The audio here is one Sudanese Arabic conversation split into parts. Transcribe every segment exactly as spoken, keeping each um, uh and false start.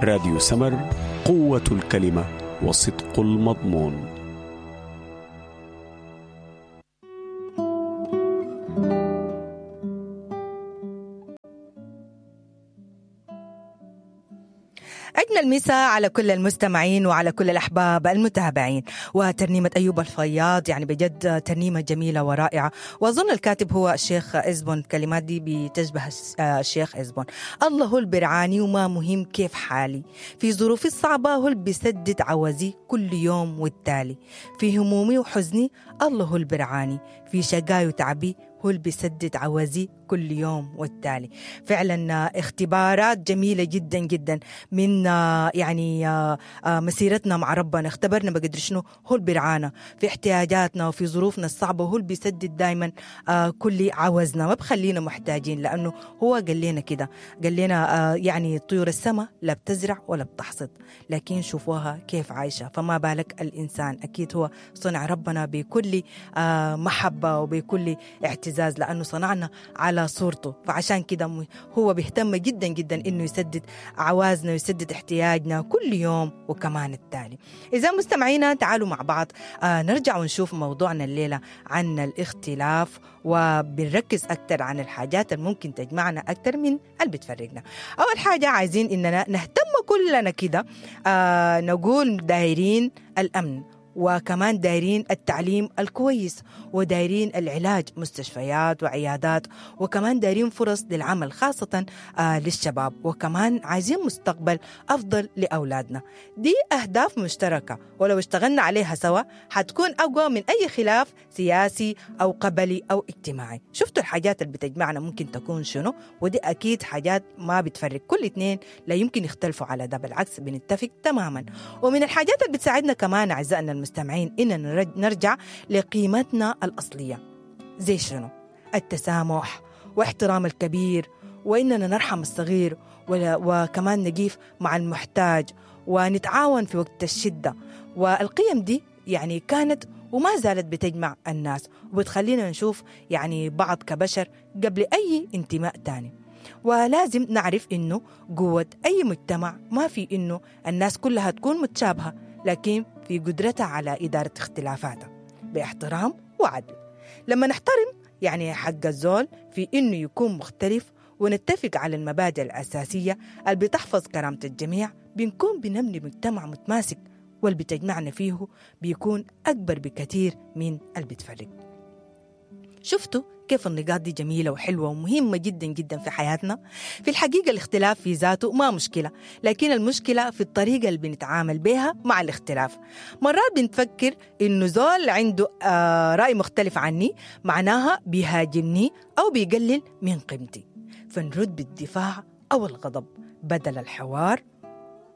راديو سمر، قوة الكلمة وصدق المضمون. أجمل مساء على كل المستمعين وعلى كل الأحباب المتابعين. وترنيمة أيوب الفياض يعني بجد ترنيمة جميلة ورائعة، وأظن الكاتب هو الشيخ إزبون، الكلمات دي بتشبه الشيخ إزبون. الله هو البرعاني وما مهم كيف حالي، في ظروفي الصعبة هو اللي بيسدد عوزي كل يوم والتالي، في همومي وحزني الله هو البرعاني، في شقاي وتعبي هو اللي بيسدد عوزي كل يوم والتالي. فعلا اختبارات جميلة جدا جدا من يعني مسيرتنا مع ربنا، اختبرنا بقدر شنو هو اللي بيرعانا في احتياجاتنا وفي ظروفنا الصعبة، هو اللي بيسدد دايما كل عوزنا، ما بخلينا محتاجين، لأنه هو قال لنا كده، قال لنا يعني طيور السماء لا بتزرع ولا بتحصد، لكن شوفوها كيف عايشة، فما بالك الإنسان. أكيد هو صنع ربنا بكل محبة وبكل اعتزاز، لأنه صنعنا على صورته، فعشان كده هو بيهتم جدا جدا إنه يسدد عوازنا ويسدد احتياجنا كل يوم وكمان التالي. إذا مستمعينا تعالوا مع بعض آه نرجع ونشوف موضوعنا الليلة عن الاختلاف، وبنركز أكتر عن الحاجات اللي ممكن تجمعنا أكتر من اللي بتفرقنا. أول حاجة عايزين إننا نهتم كلنا كده آه نقول دايرين الأمن، وكمان دايرين التعليم الكويس، ودايرين العلاج مستشفيات وعيادات، وكمان دايرين فرص للعمل خاصة آه للشباب، وكمان عايزين مستقبل أفضل لأولادنا. دي أهداف مشتركة، ولو اشتغلنا عليها سوا حتكون أقوى من أي خلاف سياسي أو قبلي أو اجتماعي. شفتوا الحاجات اللي بتجمعنا ممكن تكون شنو؟ ودي أكيد حاجات ما بتفرق، كل اتنين لا يمكن يختلفوا على ده، بالعكس بنتفق تماما. ومن الحاجات اللي بتساعدنا كمان أعزائنا المستمعين إننا نرجع لقيمتنا الأصلية، زي شنو؟ التسامح واحترام الكبير، وإننا نرحم الصغير، وكمان نقيف مع المحتاج، ونتعاون في وقت الشدة. والقيم دي يعني كانت وما زالت بتجمع الناس، وبتخلينا نشوف يعني بعض كبشر قبل أي انتماء تاني. ولازم نعرف إنه قوة أي مجتمع ما في إنه الناس كلها تكون متشابهة، لكن في قدرتها على إدارة اختلافاتها باحترام وعدل. لما نحترم يعني حق الزول في إنه يكون مختلف، ونتفق على المبادئ الأساسية اللي بتحفظ كرامة الجميع، بنكون بنبني مجتمع متماسك، واللي بتجمعنا فيه بيكون أكبر بكثير من اللي بتفرق. شفتوا كيف النقاط دي جميلة وحلوة ومهمة جدا جدا في حياتنا؟ في الحقيقة الاختلاف في ذاته ما مشكلة، لكن المشكلة في الطريقة اللي بنتعامل بها مع الاختلاف. مرات بنفكر إنه زول عنده آه رأي مختلف عني معناها بيهاجمني أو بيقلل من قيمتي، فنرد بالدفاع أو الغضب بدل الحوار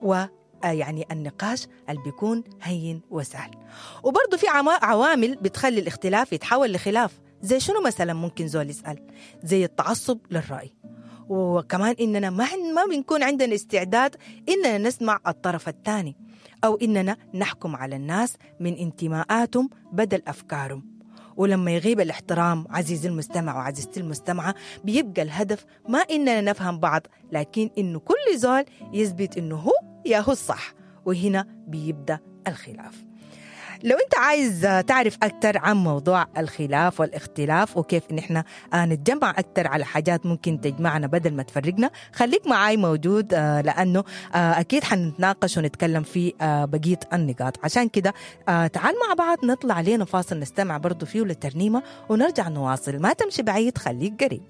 و يعني النقاش اللي بيكون هين وسهل. وبرضه في عوامل بتخلي الاختلاف يتحول لخلاف، زي شنو مثلا؟ ممكن زول يسأل زي التعصب للرأي، وكمان إننا ما ما بنكون عندنا استعداد إننا نسمع الطرف الثاني، أو إننا نحكم على الناس من انتماءاتهم بدل أفكارهم. ولما يغيب الاحترام عزيزي المستمع وعزيزتي المستمعة، بيبقى الهدف ما إننا نفهم بعض، لكن إنه كل زول يثبت إنه هو يا هو الصح، وهنا بيبدأ الخلاف. لو أنت عايز تعرف أكثر عن موضوع الخلاف والاختلاف وكيف إن إحنا نتجمع أكثر على حاجات ممكن تجمعنا بدل ما تفرقنا، خليك معاي موجود، لأنه أكيد حنتناقش ونتكلم في بقية النقاط. عشان كده تعال مع بعض نطلع لنا فاصل نستمع برضو فيه للترنيمة ونرجع نواصل. ما تمشي بعيد، خليك قريب.